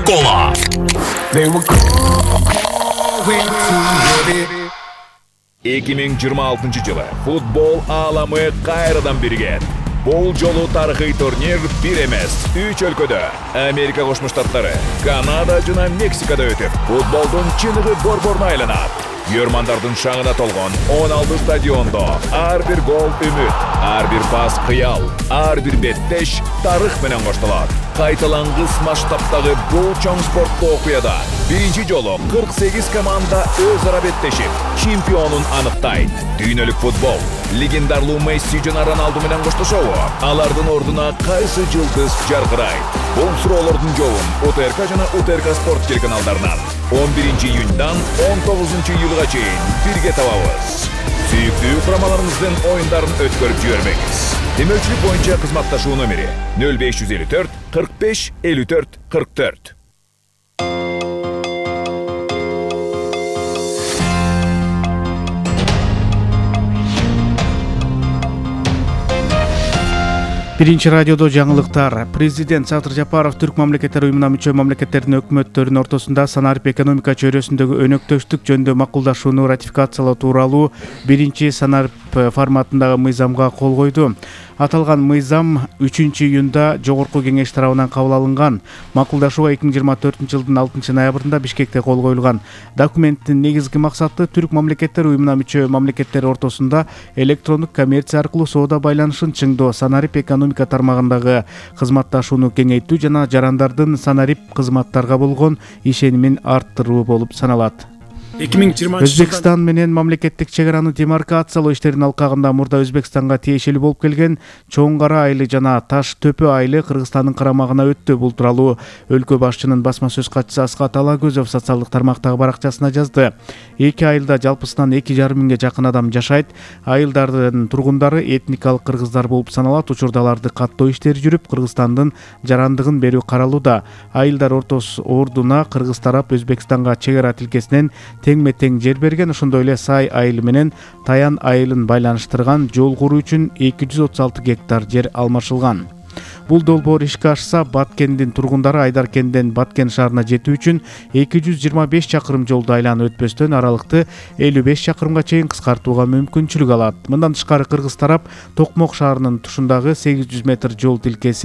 Кола. 2026 жылы футбол ааламы кайрадан биригет. Бул жолу тарыхый турнир бир эмес, 3 өлкөдө Америка Кошмо Штаттары, Канада жана Мексикада өтүп, футболдун чыныгы борборуна айланат. Көрмандардын шаңына толгон 16 стадиондо ар бир гол үмүт, ар бир пас кыял, ар бир беттеш тарых менен коштолот. Кайталангыс масштабтагы бул чоң спорттуу окуяда биринчи жолу 48 команда өз ара беттешип, чемпионун аныктайт. Дүйнөлүк футбол легендарлуу Месси жана Роналду менен коштошобу? Алардын ордуна кайсы жылдыз жаркырайт? Бул суроолордун жообун УТРК жана УТРК Спорт телеканалдарынан 11 июньдан 19 июлга чейин бирге табабыз. Сүйүктүү курамаларыбыздын оюндарын өткөрүп жибермеңиз. Демөүчүлүк боюнча кызматташуу номери 0554 45 54 44. Биринчи радиодо жаңылыктар. Президент Садыр Жапаров Түрк мамлекеттер уюмуна мүчө мамлекеттердин өкмөттөрүнүн ортосунда санарип экономика чөйрөсүндөгү өнөктөштүк жөнүндө макулдашууну ратификациялоо тууралуу биринчи санарип форматындагы мыйзамга кол койду. Аталган мыйзам 3-июнда Жогорку кеңеш тарабынан кабыл алынган. Макулдашууга 2024-жылдын 6-ноябрында Бишкекте кол коюлган. Документтин негизги максаты Түрк мамлекеттер уюмуна мүчө мамлекеттер ортосунда электрондук коммерция аркылуу соода байланышын чыңдоо, санарип экономика тармагындагы кызматташууну кеңейтүү жана жарандардын санарип кызматтарга болгон ишенимин арттыруу болуп саналат. Өзбекстан менен мамлекеттик чек араны демаркациялоо иштеринин алкагында мурда Өзбекстанга тиешелүү болуп келген Чоң Кара айылы жана Таш Төпө айылы Кыргызстандын карамагына өттү. Бул тууралуу өлкө башчынын басма сөз катчысы Аскат Алагөзов социалдык тармактагы баракчасына жазды. Эки айылда жалпысынан 2,5 миңге жакын адам жашайт. Айылдардын тургундары этникалык кыргыздар болуп саналат. Учурда аларды каттоо иштери жүрүп, Кыргызстандын жарандыгын берүү каралууда. Айылдар ордуна Кыргыз тарап Өзбекстанга чек ара тилкесинен тең-метең жер берген. Ошондой эле Сай айылы менен Таян айылын байланыштырган жол куруу үчүн 236 гектар жер алмашылган. Бул долбоор ишке ашса, Баткендин тургундары Айдар кениден Баткен шаарына жетүү үчүн 225 чакырым жолду айланып өтпөстөн аралыкты 55 чакырымга чейин кыскартууга мүмкүнчүлүк алат. Мындан тышкары Кыргыз тарап Токмок шаарынын тушундагы 800 метр жол тилкеси